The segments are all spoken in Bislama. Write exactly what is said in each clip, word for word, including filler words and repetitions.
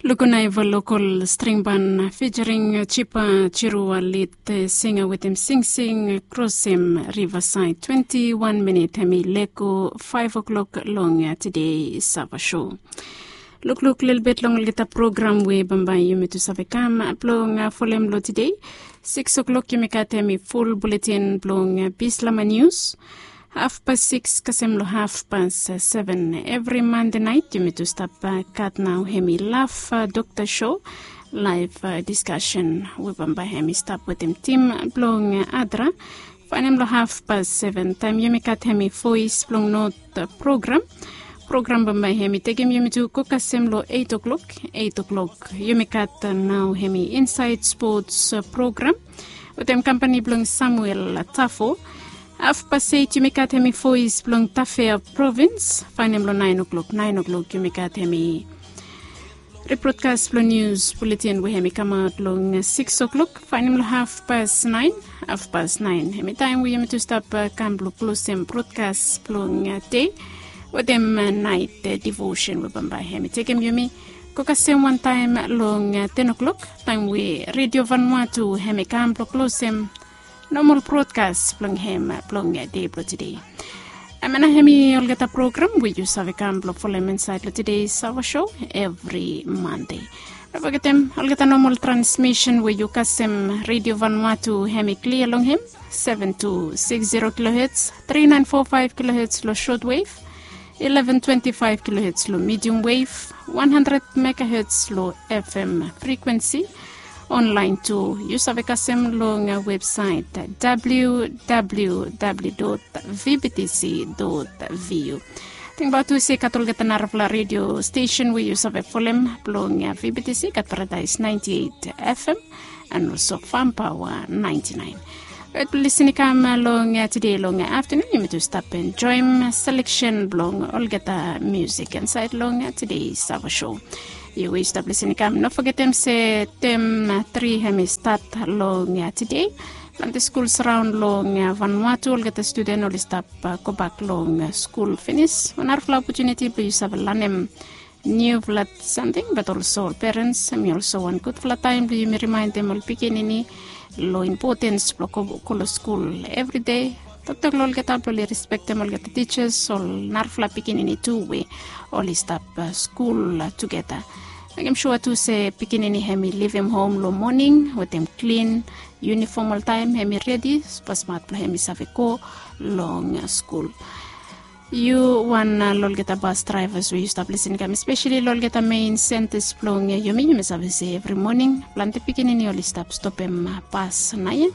Lukunaiva lokol stringban fijering jipa jiruwa lit singa wetem singsing krosem rivasaid twenti wan minit hemi leko faef oklok long tide sava sho. Lukluk lelebet long olgeta program we bambae yumi tu save kam blong folem long tide. Sikis oklok yumi gat hemi ful buletin blong bislama nius. Hafpas sikis kasem long hafpas seven evri mande naet yumi tu stap gat nao hemi laf dokta sho, laef diskasen we bambae hemi stap wetem tim blong adra. Faenem long hafpas seven taem yumi gat hemi voes blong not program. Program bambae hemi tekem yumi tu go kasem long eit oklok. Eit oklok yumi gat nao hemi insaed spots program wetem kampani blong Samuel Tafo. Hafpas eit yumi gat hemi voes blong Tafea provins. Faenem long naen oklok. Naen oklok yumi gat hemi rebrodkas blong nius buletin we hemi kamaot long sikis oklok. Faenem long hafpas naen. Hafpas naen hemi taem we yumi tu stap kam blong klosem brodkas blong dei wetem naet divosen we bambae hemi tekem yumi go kasem wantaem long ten oklok, taem we Redio Vanuatu hemi kam blong klosem nomol brodkas blong hem blong dei blong tide. Hemia nao hemi olgeta program we yu save kam blong folem insaed long tide sava sho evri mande. No fogetem olgeta nomol transmisen we yu kasem Redio Vanuatu hemi klia long hem, seven two six zero kilohertz, three nine four five kilohertz long shortwave, eleven twenty-five kilohertz long medium wave, one hundred megahertz long F M frequency. Online tu yu save kasem long websaet W W W dot V B T C dot V U. Tingbaot tu se gat olgeta narafala redio stesen we yu save folem blong V B T C gat Paradaes ninety eight F M and also Farm Power ninety nine. Rait blong lisin i kam long tide long aftanun yumi tu stap enjoem seleksen blong olgeta musik insaed long tide sava sho. Yu we yu stap lisin i kam no fogetem se tem tri hemi stat long tide. Plante skuls raon long Vanuatu olgeta studen oli stap gobak long skul finis. Wan narafala opotuniti blong yu save lanem niufala samting bat olso ol perens hemi olso wan gudfala taem blong yumi rimaendem ol pikinini long impotens blong go long skul evri dei. Toktok long olgeta blong oli respektem olgeta tijas, ol narafala pikinini tu we oli stap skul tugeta. Mekem sua tu se pikinini hemi livim hom long moning wetem klin yunifom oltaem, hemi redi smasmat blong hemi save go long skul. Yu wan long olgeta bas draevas we yu stap lisin i kam espeseli long olgeta mein sentas blong yumi, yumi save se evri moning plante pikinini oli stap stopem bas naoia.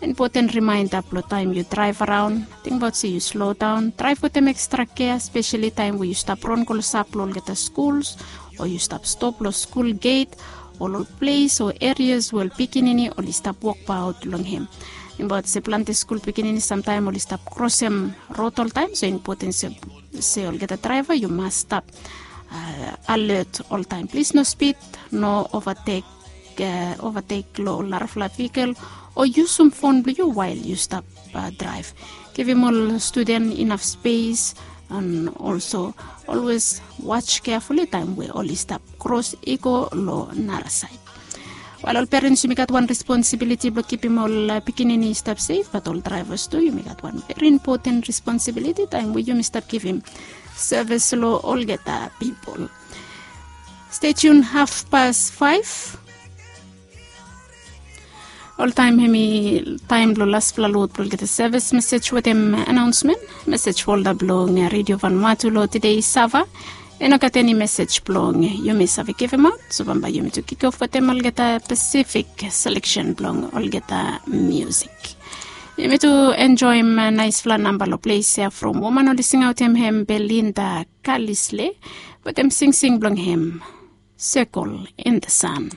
Impoten rimaenda blong taem yu draev araon, tingbaot se yu slodaon, draev wetem ekstra kea espeseli taem we yu stap ron klosap long olgeta skuls o yu stap stop long skul get o long ples o erias we ol pikinini oli stap wokbaot long hem. Tingbaot se plante skul pikinini samtaem oli stap krosem rod oltaem, so impoten se olgeta draeva yu mas stap alet oltaem. Plis no spid, no ovatek, ovatek long ol narafala vikel o yusum fon blong yu wael yu stap draev. Givim ol studen inaf spes and olso olwes waj keafuli taem we oli stap kros i go long narasaed. Wael ol perens yumi gat wan responsibiliti blong kipim ol pikinini i stap sef, bat ol draevas tu yumi gat wan veri impoten responsibiliti taem we yumi stap givim sevis long olgeta pipol. Stetiun hafpas faef. Oltaem hemi taem blong lasfala lod blong olgeta sevis mesej wetem anaonsmen. Mesej folda blong Redio Vanuatu long tide sava i no gat eni mesej blong yumi save givimaot, so bambae yumi tu kikof wetem olgeta Pasifik seleksen blong olgeta musik. Yumi tu enjoem naesfala namba long ples ya from woman oli singaotem hem Belinda Kalisle wetem singsing blong hem Sekol in the Sun.